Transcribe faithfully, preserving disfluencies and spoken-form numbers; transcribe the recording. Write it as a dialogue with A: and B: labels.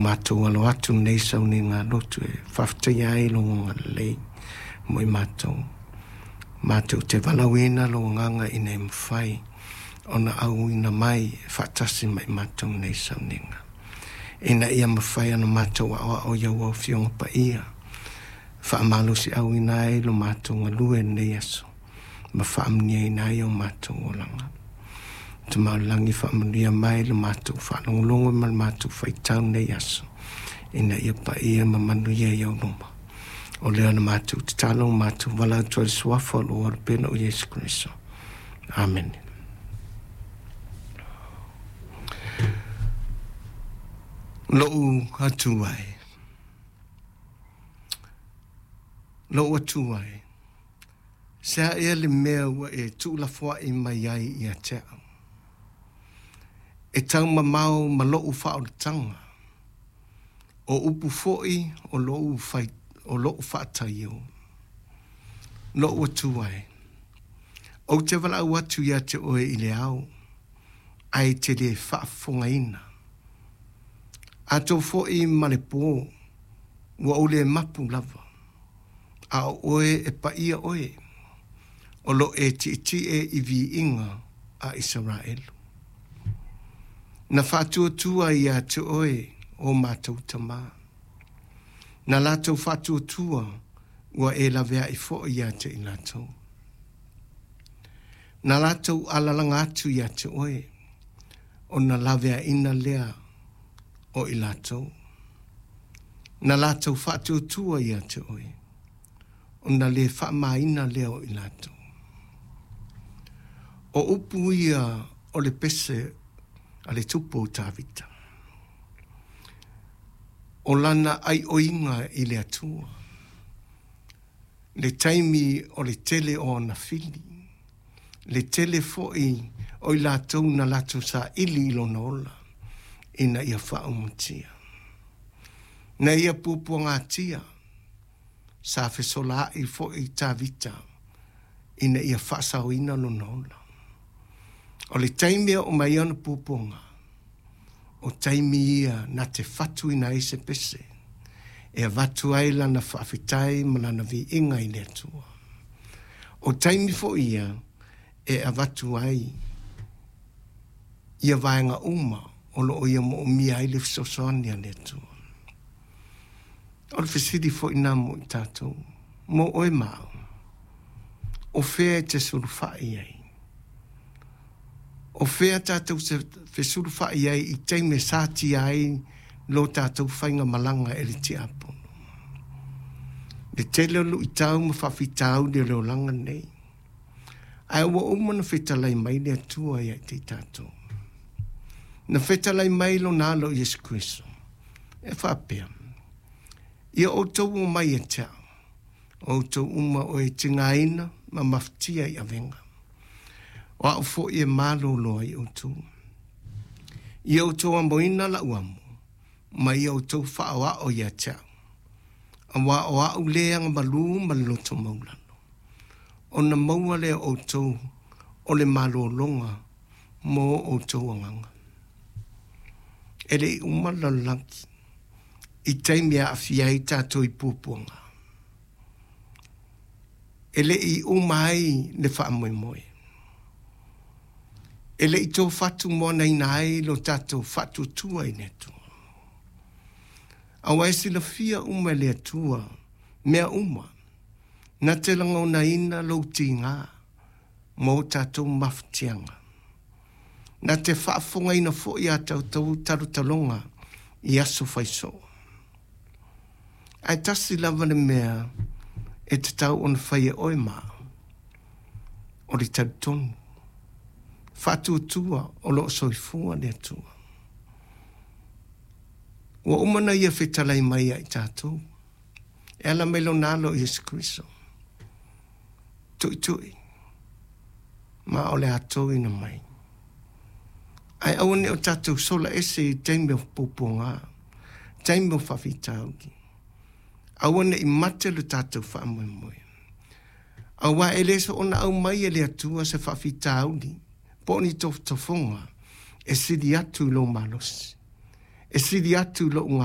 A: matou alo atu i lenei sauniga lotu e faafetaia ai lou agalelei mo i matou. Matou te valaauina lou agaga ina ia mafai ona auina mai e faatasi ma i matou i lenei sauniga, ina ia mafai ona matou aoao i au Afioga Paia, faamalosiauina ai lo matou galue i lenei aso, ma faamanuiaina ai o matou olaga. Tama oi le lagi, faamanuia mai le matou faalogologo ma le matou faitau i lenei aso, ina ia paia ma manuia i ou luma. O lea na matou tatalo ma matou valaau atu ai i le suafa o lou Alo pele o Iesu Keriso. Amene. Lou Atua e, lou Atua e, se a ea le mea ua e tuulafoai mai ai ia te au, e taumamao ma lou faaolataga, o upu foi o lou, fai, o lou faataio. Lou Atua e, ou te valaau atu ia te oe i le ao, ae te le faafofogaina. Atonu foi ma le pō, ua ou le mapu lava, a o oe e paia oe, o lo e tietie i viiga a Isaraelu. Na faatuatua ia te oe o matou tamā. Na latou faatuatua ua e laveai foi ia te i latou. Na latou alalaga atu ia te oe, ona laveaina lea o i latou. Na latou faatuatua ia te oe, ona le faamaina lea o i latou. O upu ia o le pese a le tupu o Tavita. O lana aioiga i le Atua, le taimi o le tele o ona fili, le tele foi o i latou na latou saili i lona ola, ina ia faaumatia. Na ia puapuagatia, sa fesolaai foi Tavita, ina ia faasaoina lona ola. O le taimi e oo mai ai ona puapuaga, o taimi ia na te fatuina ai se pese, e avatu ai lana faafetai ma lana viiga i le Atua. O taimi foi ia e avatu ai ia vaega uma o loo ia moomia ai le fesoasoani a le Atua. O le fesili foi lena mo i tatou, mo oe ma au, o fea e te sulufai ai? O fea tatou te fesulufai ai i taimi e satia ai lo tatou faigamalaga e le tiapono? Le tele o luitau ma faafitauli o le olaga nei, ae ua uma ona fetalai mai le Atua ia te i tatou. Na fetalai mai lona alo Iesu Keriso, e faapea, ia outou omai ia te au, o outou uma o e tigaina ma mafatia i avega, o au foi e malolo ai outou. Ia outou amoina lau amo, ma ia outou faaoao ia te au, auā o au le agamalu ma le loto maualalo, ona maua lea o outou o le malologa mo outou agaga. E le i uma le lalolagi i taimi e aafia ai tatou i puapuaga. E le i uma ai le faamoemoe. E le i tofatumoanaina ai lo tatou faatuatua i le Atua. Aua e silafia uma e le Atua mea uma, na te lagonaina lou tiga ma o tatou mafatiaga. Na te faafofogaina foi a tatou talotaloga i aso faisoo. Ae tasi lava le mea e tatau ona fai e oe ma au, o le talitonu, faatuatua o loo soifua le Atua. Ua uma ona ia fetalai mai ia i tatou, e ala mai lona alo Iesu Keriso, tuitui ma o le a toina mai. Ae aua ne i o tatou sola ese i taimi o puapuaga, taimi o faafitauli. Aua ne i mate lo tatou faamoemoe. Aua e le soona aumai e le Atua se faafitauli po o ni tofotofoga e sili atu i lou malosi, e sili atu i lou